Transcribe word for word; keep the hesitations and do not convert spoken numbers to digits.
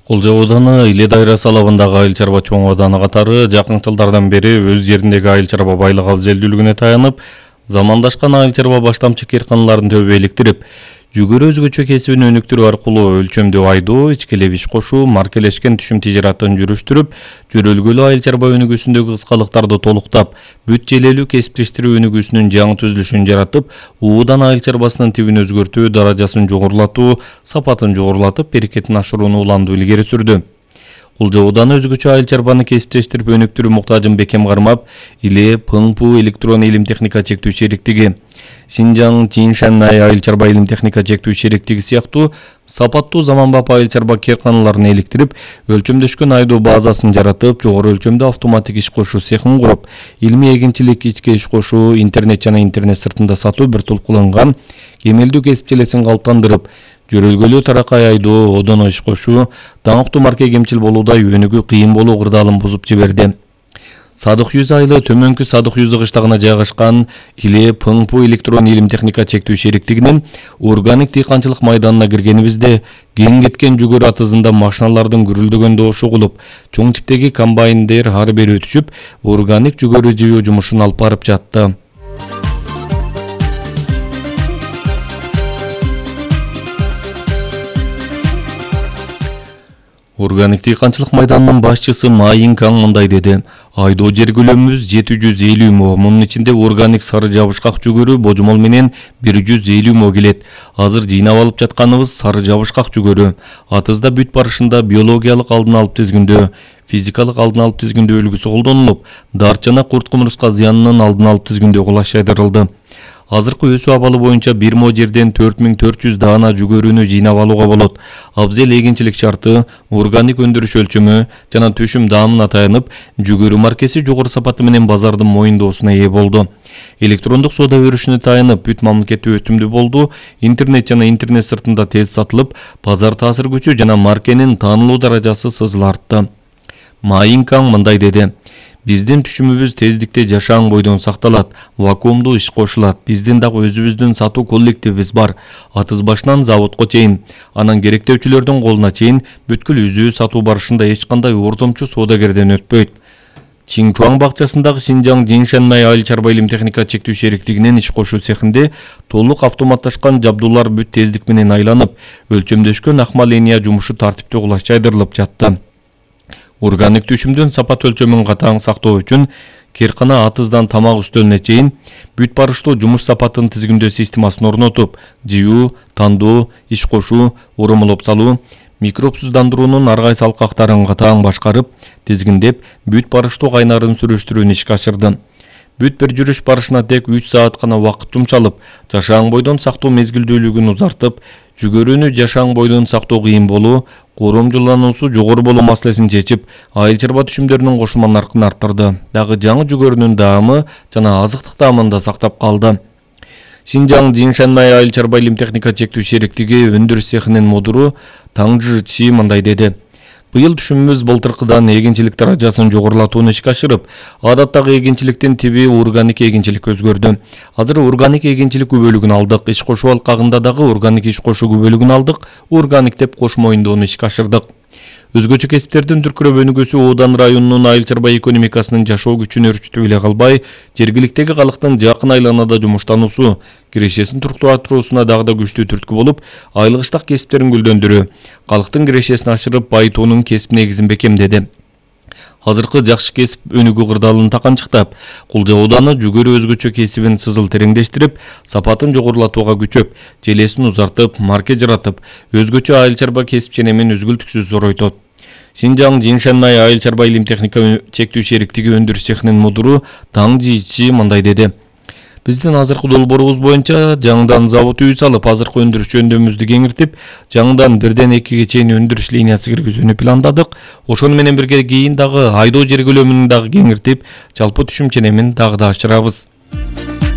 Кулжа ауданы Иле дайрасы алабындагы айыл чарба чоң ауданы катары жакын жылдардан бери өз жериндеги айыл чарба байлык абзелдүүлүгүнө таянып, замандашкан айыл чарба баштамчы кыйрканаларын төбө иликтирип, жүгөрү өзгөчө кесибин өнүктүрүү аркылуу өлчөмдүү айдоо, ичкелеп иш кошуу, маркелешкен түшүм тижаратын жүрүштүрүп, жөрөлгөлүү айыл чарба өнүгүүсүндөгү кыскалыктарды толуктап, бүт желелүү кесиптештирүү өнүгүүсүнүн жаңы түзүлүшүн жаратып, уудан айыл чарбасынын тибин өзгөртүү, даражасын жогорулатуу, сапатын жогорулатып, берекетин ашырууну уланды илгери сүрдү. Кулжа ауданы өзгөчө айыл чарбаны кесиптештирип өнүктүрүү муктажын бекем кармап, Иле Пыңпу электрон илим техника чектүү шериктиги, Шинжаң Тиньшанай айыл чарба илим техника чектүү шериктиги сыяктуу сапаттуу заманбап айыл чарба кыйрканаларын иликтирип, өлчөмдөшкөн айдоо базасын жаратып, жогору өлчөмдүү автоматик иш кошуу цехин куруп, илимий эгинчилик, ичке иш кошуу, интернет жана интернет сыртында сатуу бир тулкуланган кемелдүү кесип желесин калыптандырып, жөрөлгөлүү таракай айдоо, одоно иш кошуу, даңктуу марке кемчил болуудай өнүгүү кыйын болуу кырдаалын бузуп жиберди. Садык Юз айылы төмөнкү Садык Юз кыштагына жайгашкан Иле Пыңпу электрон илим техника чектүү шериктигинин органик дыйканчылык майданына киргенибизде кең кеткен жүгөрү атызында машиналардын гүрүлдөгөн добушу угулуп, чоң типтеги комбайндер ары бери өтүшүп, органик жүгөрү жыйуу жумушун алып барып жатты. Органик дыйканчылык майданынын башчысы Майин Каң мындай деди: айдоо жер көлөмүбүз жети жүз элүү мо, мунун ичинде органик сары жабышкак жүгөрү божомол менен бир жүз элүү мо келет. Азыр жыйнап алып жатканыбыз сары жабышкак жүгөрү. Атызда бүт барышында биологиялык алдын алып тизгиндөө, физикалык алдын алып тизгиндөө үлгүсү колдонулуп, дарт жана курт кумурска зыянынын алдын алып тизгиндөө кулаш жайдырылды. Азыркы өсүү абалы боюнча бир мо жерден төрт миң төрт жүз даана жүгөрүнү жыйнап алууга болот. Абзел эгинчилик шарты, органик өндүрүш өлчөмү жана түшүм даамына таянып, жүгөрү маркеси жогору сапаты менен базардын моюндоосуна ээ болду. Электрондук соода өрүшүнө таянып, бүт мамлекеттик өтүмдүү болду. Интернет жана интернет сыртында тез сатылып, базар таасир күчү жана маркенин таанылуу даражасы сызыла артты. Майин Каң мындай деди: биздин түшүмүбүз тездикте жашаан бойдон сакталат, вакуумдуу иш кошулат. Биздин дагы өзүбүздүн сатуу коллективибиз бар. Атыз башынан заводко чейин, анан керектөөчүлөрдүн колуна чейин бүткүл үзүү сатуу барышында эч кандай ортомчу соодагерден өтпөйт. Чинчуаң бакчасындагы Шинжаң Тиньшанай айыл чарба илим техника чектүү шериктигинин иш кошуу цехинде толук автоматташкан жабдуулар бүт тездик менен айланып, өлчөмдөшкөн акма линия жумушу тартиптүү кулаш жайдырылып жатты. Органик түшүмдүн сапат өлчөмүн катаң сактоо үчүн кыйркана атыздан тамак үстөлүнө чейин бүт барыштуу жумуш сапатын тизгиндөө системасын орнотуп, жыюу, тандоо, иш кошуу, урамалап салуу, микробсуздандыруунун ар кайсы алкактарын катаң башкарып, тизгиндеп, бүт барыштуу кайнарын сүрүштүрүүнү ишке ашырды. Бүт бир жүрүш барышына тек үч саат гана убакыт жумшалып, жашаан бойдон сактоо мезгилдүүлүгүн узартып, жүгөрүнү жашаан бойдон сактоо кыйын болуу, коромжулануусу жогору болуу маселесин чечип, айыл чарба түшүмдөрүнүн кошулма наркын арттырды. Дагы жаңы жүгөрүнүн даамы жана азыктык даамын да сактап калды. Шинжаң Тиньшанай айыл чарба илим техника чектүү шериктиги өндүрүш цехинин мудуру Таңжы Чи мындай деди: быйыл түшүмүбүз былтыркыдан эгинчилик даражасын жогорулатууну ишке ашырып, адаттагы эгинчиликтин тиби органик эгинчиликке өзгөрдү. Азыр органик эгинчилик күбөлүгүн алдык, иш кошуу алкагында дагы органик иш кошуу күбөлүгүн алдык, органик деп кош моюндоону ишке ашырдык. Өзгөчө кесиптердин дүркүрөп өнүгүүсү Оодан районунун айыл чарба экономикасынын жашоо күчүн өрчүтүп эле калбай, жергиликтеги калктын жакын айланада жумуштануусу, кирешесин туруктатуусуна дагы да күчтүү түрткү болуп, айылгыштак кесиптерин гүлдөндүрүү, калктын кирешесин ашырып, байытуунун кесип негизин бекемдеди. Азыркы жакшы кесип өнүгүү кырдаалын таканчыктап, Кулжа ауданы жүгөрү өзгөчө кесибин сызыл тереңдештирип, сапатын жогорулатууга күчөп, желесин узартып, марке жаратып, өзгөчө айыл чарба кесип ченемин үзгүлтүксүз зоройтот. Шинжаң Тиньшанай айыл чарба илим техника чектүү шериктиги өндүрүш цехинин мудуру Таңжы Чи мындай деди: биздин азыркы долбоорубуз боюнча жаңыдан завод үй салып, азыркы өндүрүш жөндөмүбүздү кеңиртип, жаңыдан бирден экиге чейин өндүрүш линиясы киргизүүнү пландадык. Ошону менен бирге кийин дагы айдоо жер көлөмүн дагы кеңиртип, жалпы түшүм ченемин дагы да ашырабыз.